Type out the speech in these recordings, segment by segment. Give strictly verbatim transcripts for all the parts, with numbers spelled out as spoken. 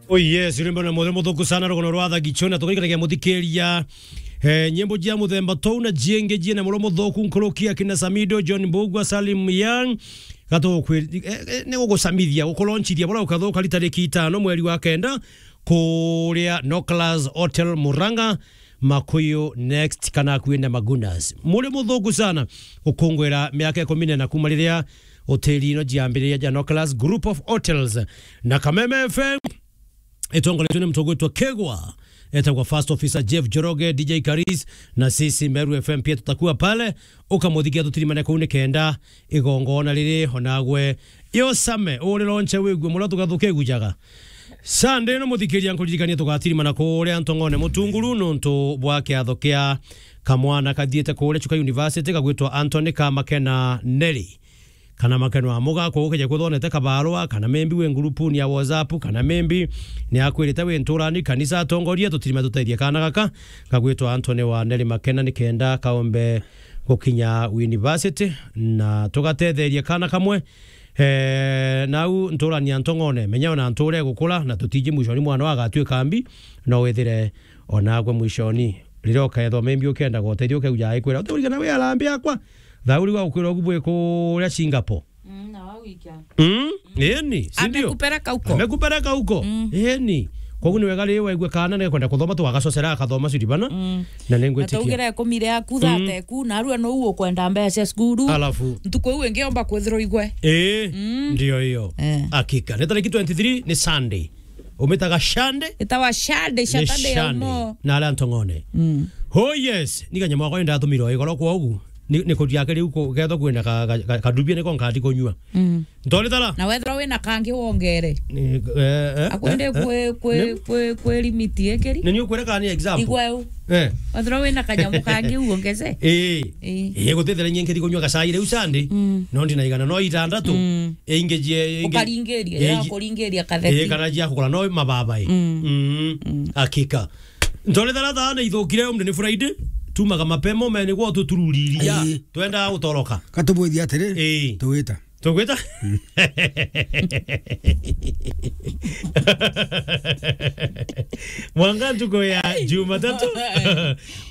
Oh yes, rwimbo na muthe muthuku sana, rugono rwa Thagicho, na tukarikanagia muthikiria, eh, nyimbo jia muthemba tou na jiingi jina muro muthuku nkuruki akina Samido, John Mbugua, Salim Young, gatukwir-, eh, eh, ni gugucamithia, gukulonchithia bura ukathuka ri tariki itano mweri wa kenda, kuria Noclas Hotel Murang'a, Makuyu Next kana akuina Magunas. Muri muthuku sana gukungwira miaka ikumi na ina kuma riria hoteli ino jiambiriria ja Noclas Group of Hotels na Kameme F M. Itongoretwe ni mtu ugwitwa Kegwa, etagwa First Officer Jeff Joroge, D J Karis, na sisi Meru F M pia tutakuwa pale. Ukamuthikia tutirimane kuu nikenda igongona riri onagwe yosame uri lonche wigue muria tugathuke gujaga. Sunday no muthikiria nkuririkania tugatirimana kuria Ntong'one Mutunguru nuntu bwa kiatho kia kamwana kathiite kuria Chuka University kagwitwa Anthony Kamakena Neri. Kana Makeno Amuga, kwa ukeja kuthonete kabarua, kana maybe wi ngurupuni ya WhatsApp, kana maybe ni akwirite wi nturani, kanisa atongoria, tutirime tutethie kana gaka, gagwitwa Anthony wa Neri Makena, nikenda kaombe gukinya university, na tugatetherie kana kamwe, eh, nau nturani ya Ntong'one, menya ona nture gukura, na tutiji mwishoni mwana wa agatwika mbi, no withire onagwe mwishoni. Riria ukethwa maybe ukenda gotethio ukeuja aikwira, "Uti urigana wi arambi akwa." Thauri wa ukwira ugu bwi kuria Singapore. Mm, na wa wikia. Mm, eni, si ndio? Amekupeleka huko. Amekupeleka huko. Mm. Eni. Koguo ni wega riu waigua kana ni kwenda kuthoma tu agacocera akathoma curi bana. Mm. Na ni ngwitikia. Ataugire ikumi riaku, mm, thate ku, na arua no ukwenda mbeca cia cukuru. Alafu. Ntuku iu ingi omba kwithirwa igwe. Eh, mm, ndio hiyo. Eh. Hakika. Ni tariki twenty-three ni Sunday. Umitaga Shande? Itawa Shande, ni Saturday ya Shande umo. Na aria Ntong'one. Mm. Oh yes, ni kanyama wakwa ni ndatumire igoro kwa ugu. Ni, ni kuria kiri uko, ketho kwina ka, ka, ka, kadubia niko nkati kunyua. Mm. Ntoli tara? Na wethirwa wina kangi wongere. Ni, eh, eh, akwende eh, kwe, eh, kwe, ni? Kwe, kwe limit ekeri? Ni ni ukwira kana ni example? Igwa u. Eh. Wethirwa wina kanyamu kangi uongeze? Eh. Eh. Eh, gutethera nyie nkithi kunyua gacai riu Sunday. Mm. No ndinaigana no itandatu. Mm. Ingejie, inge-, ukaringiria, eh, ya kuringiria katheti. Eh, kana jia kugura no mababai. Mm. Mm. Mm. Hakika. Ntole tharatha na ithukire umde ni Friday. Tumaga mapema ume ni gwo tutururiria. Ii. Twenda gutoroka. Katubwithia atiri, ii, tugwita. Tugwita? Mm. Mwanga ntuku ya Jumatatu.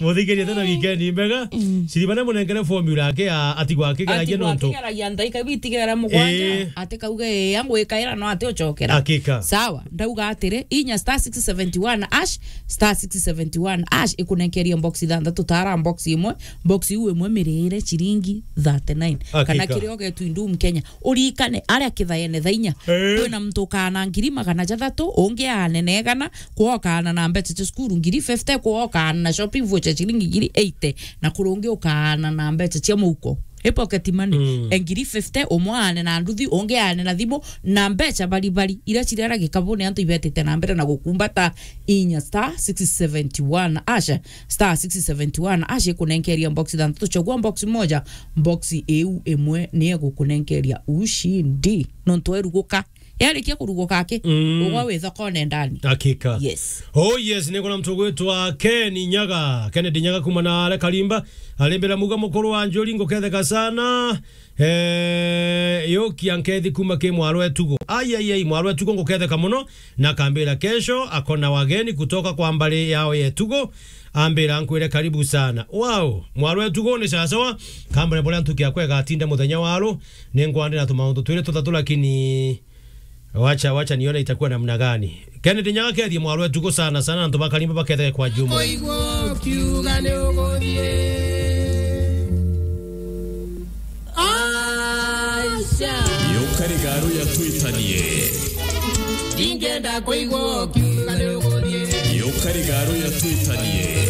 Muthikirie tena weekend mbega. Mm. Siribane munengere formula yake ya atigwa akigeragia. Atigwa nontu akigeragia ndaika bitigera mugwanja. Ii. Ati kauge, "Ii, angwikaira no ati ucokera." Hakika. Sawa, ndauga atiri, inya star six seventy one hash, star six seventy one hash, ikunenkeria box ithanthatu, tara box imwe, box iu imwe mirire ciringi thirty nine. Hakika. Kana kiria ugetu indu Mkenya. Urikane, aria kithaene thaa inya. Eh. Kwina muntu ukaana ngiri magana jathatu, ungi aane na igana, kwa ukaana na mbeca cia cukuru ngiri fifty, kwa ukaana na shopping voucher ciringi ngiri eighty, na kuri ungi ukaana na mbeca cia muhuko. I pocket money. Mm. E ngiri fifty, umwe aane na nduthi, ungi aane na thimu, na mbeca bari bari, iria cirera gikabune antu ibetite na mbere na gukumbata inya star six seventy one hash, star six seventy one hash, ikunenkeria box ithanthatu, chagua box moja, box iu imwe ni igukunenkeria ushindi. Nontu eruguka. Yarikia kuruguka aki, mm, ugwa wi thokone ndani. Hakika. Yes. Oh yes, ni kuna mtu gwitwa Ken Nyaga, Kennedy Nyaga kuma na ale Kalimba, alimbira muga mukuru wa Njuri nguketheka sana. Eh, yoki ankethi kuma ki mwarwe tugo. Ai, ai, ai, mwarwe tugo nguketheka muno, na kambira kesho akona wageni kutoka kwa mbari yao ye tugo. Ambira nkwire karibu sana. Wow, mwarwe tugo ni sawa sawa. Kambire boria ntuki akwe gatinda muthenya waro, ni ngwandira tumaundu twiri tuthatu lakini Wacha, wacha nione itakuwa namna gani. Kennedy Nyaga kethie mwarwe tugo sana sana, antu ba Kalimba baketheke kwa jumla. Kuigua ukiuga ni uguthie. Acha. Yukari garu ya twitanie. Ndingenda kuigua ukiuga ni uguthie. Yukari garu ya twitanie.